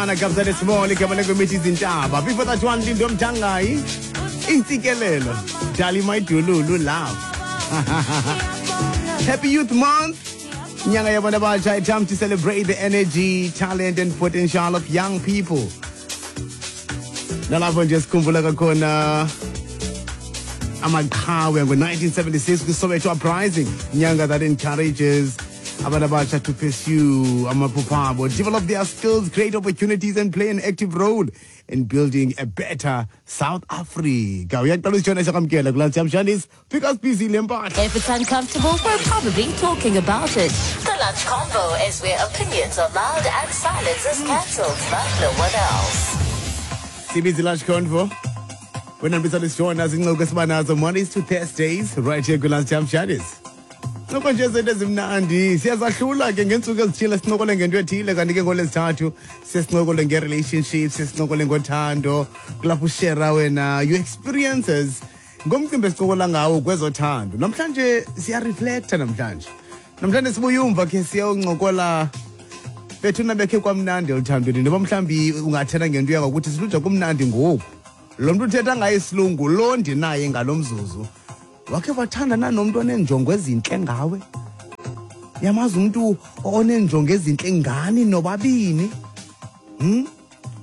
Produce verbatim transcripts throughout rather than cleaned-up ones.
Ana Kabza De Small igama lengomithi izintaba. Before that one, Lindo Mtangayi, Intsikelelo, Dali Maidululu, Love. Happy Youth Month. Inyanga yabantu abatsha, a time to celebrate the energy, talent and potential of young people. Nalapho nje sikhumbula kakhona amaqhawe ngo-nineteen seventy-six kwi-Soweto Uprising. Inyanga that encourages abantu abatsha to pursue amaphupha abo, develop their skills, create opportunities and play an active role in building a better South Africa. Uyaqala usitshona siyakwamkela kulaa Shamshandis. Fika busy le mpahla. If it's uncomfortable, we're probably talking about it. The Lunch Convo is where opinions are loud and silence is cancelled like no one else. Sibizi Lunch Convo. Wena mbisa zincoko esiba nazo Mondays to Thursdays right here kwi-Lunch Shamshandis. Ncoko nje zinto ezimnandi siyazahlula ke ngeentsuku ezithile, sincokole ngento ethile, kanti ke ngolwezithathu siye sincokole nge-relationships, siye sincokole ngothando, kulapho ushera wena your experiences ngomcimbi esincokola ngawo kwezothando. Namhlanje siyareflecta, namhlanje namhlanje sibuye umva khe siyoncokola bethuna bekhe kwamnandi eluthandweni, noba mhlawumbi ungathetha ngento yangokuthi siluja kumnandi ngoku. Lo mntu uthetha ngaye isilungu lo ndinaye ngalo mzuzu, wakhe wathandana nomntu oneenjongo ezintle ngawe? Yamazi umntu oneenjongo ezintle ngani nobabini? Hmm?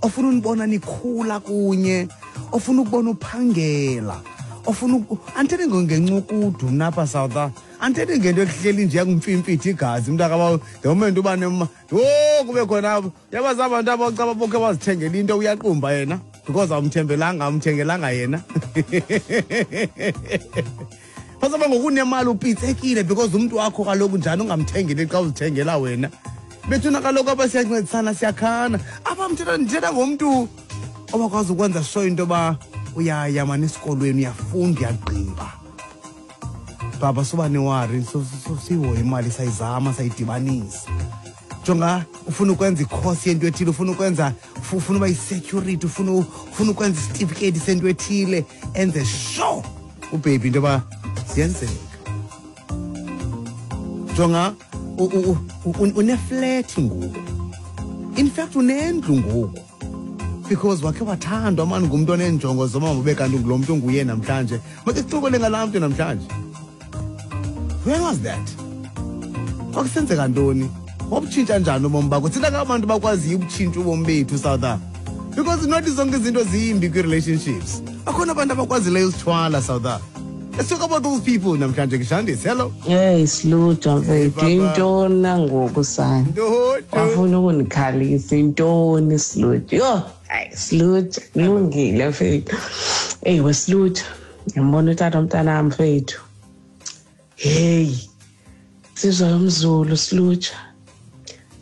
Ofuna unibona nikhula kunye, ofuna ukubona uphangela, ofuna andithethi ngencukudu mna apha South, andithethi ngento ekuhleli nje yakumfimfithi igazi umntu the moment uba nema yho kube khona apho yabazi abantu abacaba bokhe bazithengela into, uyaqumba yena because awumthembelanga, awumthengelanga yena. Pasaba ngokunemali upitsekile because umuntu wakho kaloku njani ungamthengeli xa uzithengela wena. Bethuna kaloku apha siyancedisana, siyakhana. Apha mthetha ndithetha ngomntu obakwazi ukwenza sure into yoba uyaya mani esikolweni, uyafunda, uyagqiba. Baba suba newari, sihoye imali, sayizama sayidibanisa. Jonga ufuna ukwenza ikhosi yento ethile, ufuna ukwenza, ufuna uba yi-security, ufuna ufuna ukwenza isitifiketi sento ethile, enze sure ubaby into yoba ziyenzeka. Jonga uneflat ngoku, in fact unendlu ngoku because wakhe wathandwa mani ngumntu oneenjongo zoma ube kanti ngulo mntu unguye namhlanje. Make sicokole ngalaa mntu namhlanje. When was that? Kwakusenzeka ntoni? Wabutshintsha njani ubomi bakho? Thina ngabantu bakwaziyo ubutshintsha ubomi bethu South Africa. Because not zonke izinto zimbi kwi-relationships. Akhona abantu abakwazileyo usithwala South Africa. Let's talk about those people namhlanje. Kushandis, hello. Hey, Sluja mfethu, intoni nangoku sana? Wafuna ukundikhalisa intoni Sluja? Yho, hayi Sluja, kulungile mfethu. Hey, weSluja, ngiyambona utata umntanami mfethu. Hey, sizwa umZulu Sluja.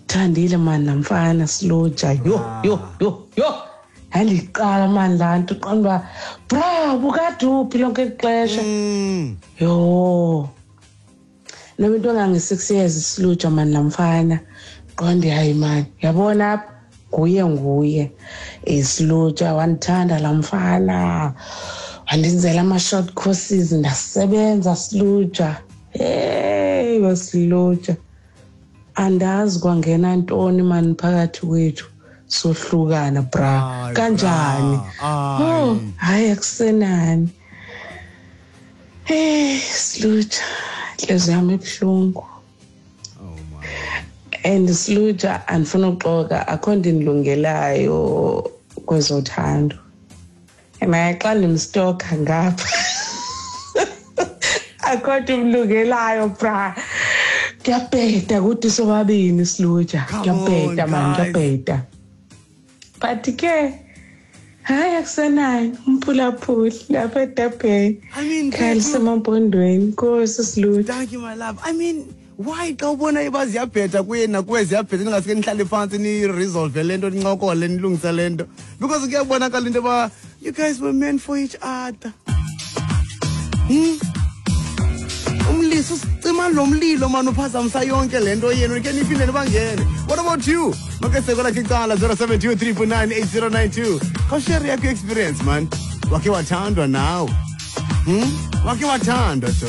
Thandile man namfana Sluja. Yo yo yo yo. Yandiqala man laa nto uqonda uba bra bukade uphi lonke eli xesha. Yho, noba into engange-six years Sluja man namfana. Qonde hayi man, yabona apha nguye nguye. Sluja wandithanda laa mfana, wandenzela ama-short courses ndasebenza Sluja. Hey weSluja, andazi kwangena ntoni mani phakathi kwethu, sohlukana bra. Kanjani? Oh, hayi akusenani. Hey Sluja, inhliziyo yami ibuhlungu. And Sluja, andifuna uxoka, akho nto indilungelayo kwezothando. Naye xa ndimstoka ngapha akho nto imlungelayo bra. Kuyabheda kuthi sobabini Sluja, kuyabheda man, kuyabheda. But ke hayi akusenayo umphulaphuli lapha eDurban. I mean, khalisemampondweni Nkosi Sluja. Thank you my love. I mean, why xa ubona iba ziyabheda kuye nakuwe ziyabheda ningaske nihlale phantsi niresolve le nto, nincokole nilungise le nto? Because kuyabonakala into yoba you guys were meant for each other. Hmm? Umlisa usicima lo mlilo mani uphazamisa yonke le nto yenu, ke niphinde nibangene. What about you? Make sekola kicala zero seven two three four nine eight zero nine two. Khawushare yakho experience man. Wakhe wathandwa nawe? Hmm? Wakhe wathandwa so.